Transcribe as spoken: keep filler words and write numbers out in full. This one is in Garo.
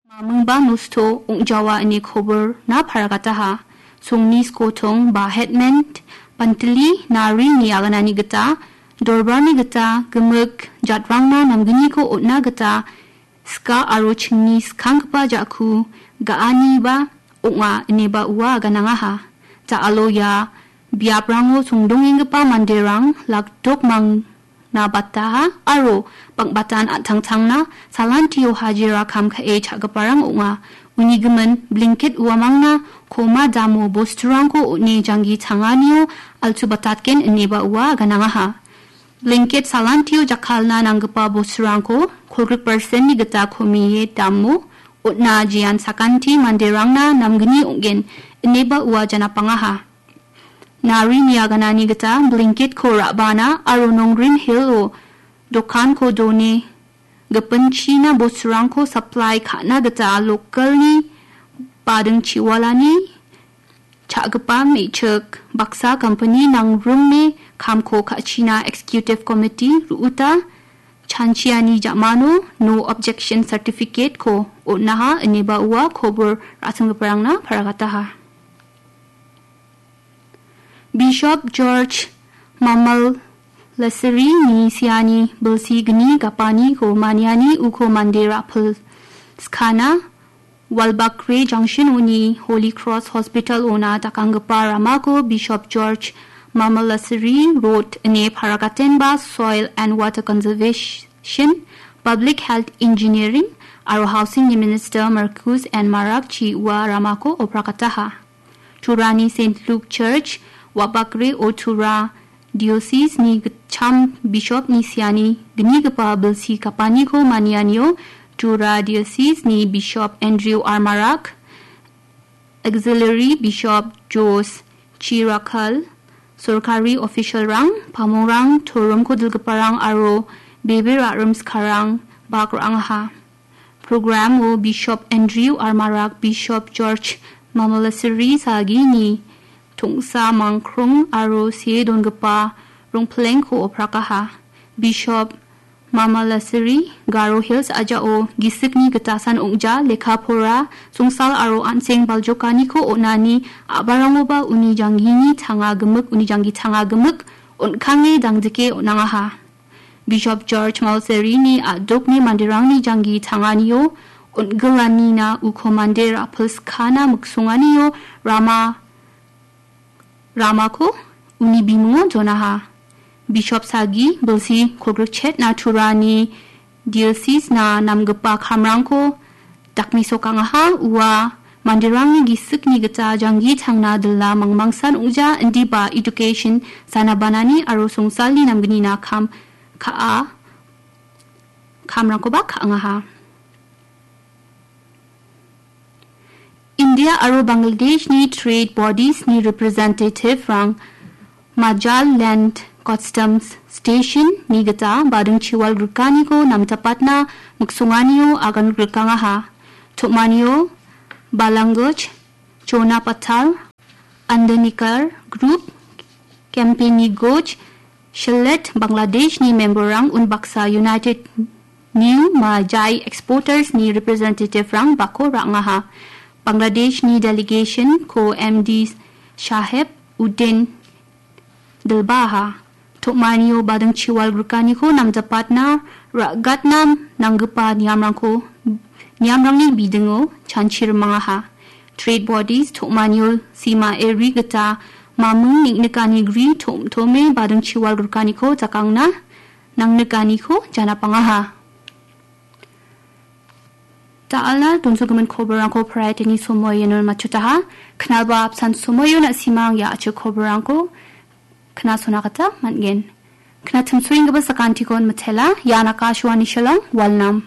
Mamingba nosto ong·jawa ine koborna paragataha. Songni skotong ba hetmen pantili narini aganani gita, dorbarni gita gimik jatrangna namgniko on·na gita ska aro chingni skanggipa ja·ku ga·aniba ong·a ineba ua aganangaha. Ja·alo ia biaprango songdongenggipa manderang lakdok mang- na bataha aro bang·batan an·tangtangna salantio hajira kam ka·e cha·giparang ong·a. Uni gimin blanket uamangna koma damo bosturangko on·e janggi tanganio altubatatgen ineba ua aganangaha. Blanket salantio jakkalna nanggipa bosturangko kolgrik persenni gita komie damo on·a jean sakanti manderangna namgni ong·gen ineba ua janapangaha. Narini aganani gita blanketko ra·bana aro Nongrim Hill-o dokanko done gipinchina bosturangko supply ka·na gita local-ni bading chiwalani cha·gipa me·chik baksa company nangrime kamko ka·china executive committee ru·uta chanchiani ja·mano no objection certificate-ko on·aha ineba ua kobor ra·singgiparangna paragataha. Bishop George Mamal Lessery-ni siani bilsi gni gapaniko maniani uko mande ra·pil skana Walbakre Junction-oni Holy Cross Hospital-ona dakanggipa ramako Bishop George Mamal Lessery Road ine paragatenba Soil and Water Conservation, Public Health Engineering aro Housing-ni Minister Marcus N Marak chi ua ramako opragataha. Turani Saint Luke Church, Wabakre o Tura Diocese-ni gitcham Bishop-ni siani gnigipa bilsi gapaniko manianio Tura Diocese-ni Bishop Andrew R Marak, Auxiliary Bishop Jos Chirakal, sorkari official-rang, pamongrang, toromko dilgiparang aro bebe ra·rimskarang bak ra·angaha. Program-o Bishop Andrew R Marak, Bishop George Mamalasiri Sagini tongsa mangkrong aro see dongipa rongplengko oprakaha. Bishop Mamalasiri Garo Hills a·jao gisikni gitasan ong·ja, lekka pora, songsal aro an·seng baljokaniko on·ani a·barangoba uni janggini tanga gimik, uni janggi tanga gimik on·kange dangdike on·angaha. Bishop George Malserini a·dokni manderangni janggi tanganio on·gilanina uko mande ra·pilskana miksonganio rama, ramako uni bimungo jonaha. Bishop Sagi bilsi kolgrikchetna Turani Diocese-na namgipa kamrangko dakmesokangaha ua manderangni gisikni gita janggi tangna dila mangmangsan ong·ja indiba education, sanabanani aro songsalni namgnina kam ka·a, kamrangkoba ka·angaha. India aro Bangladeshni trade bodies-ni representative-rang Majal Land Customs Station-ni gita bading chiwal grikaniko namtapatna miksonganio agan grikangaha. Tom·anio Balangoj, Chona Pathal, Andanikar Group, Company Goj, Sylhet, Bangladeshni member-rang unbaksa United New Majai Exporters-ni representative-rang bako ra·angaha. Bangladeshni delegation-ko M D Shaheb Uddin dilbaha. Tom·anio bading chiwal grikaniko namjapatna ra·gatna nanggipa niamrangko, niamrangni bidingo chanchi rimangaha. Trade bodies tom·anio sima eri gita maming neng·nikani gri tom·tome bading chiwal grikaniko jakangna nangnikaniko janapangaha. Da·alna donsogimin koborrangko Friday-ni somoion matchotaha. Knalba apsan somoion na·simang ia a·chik koborrangko knasona gita man·gen. Knatimsoenggipa sakantikon mitela, ian Akashvani Shillong, Walnam.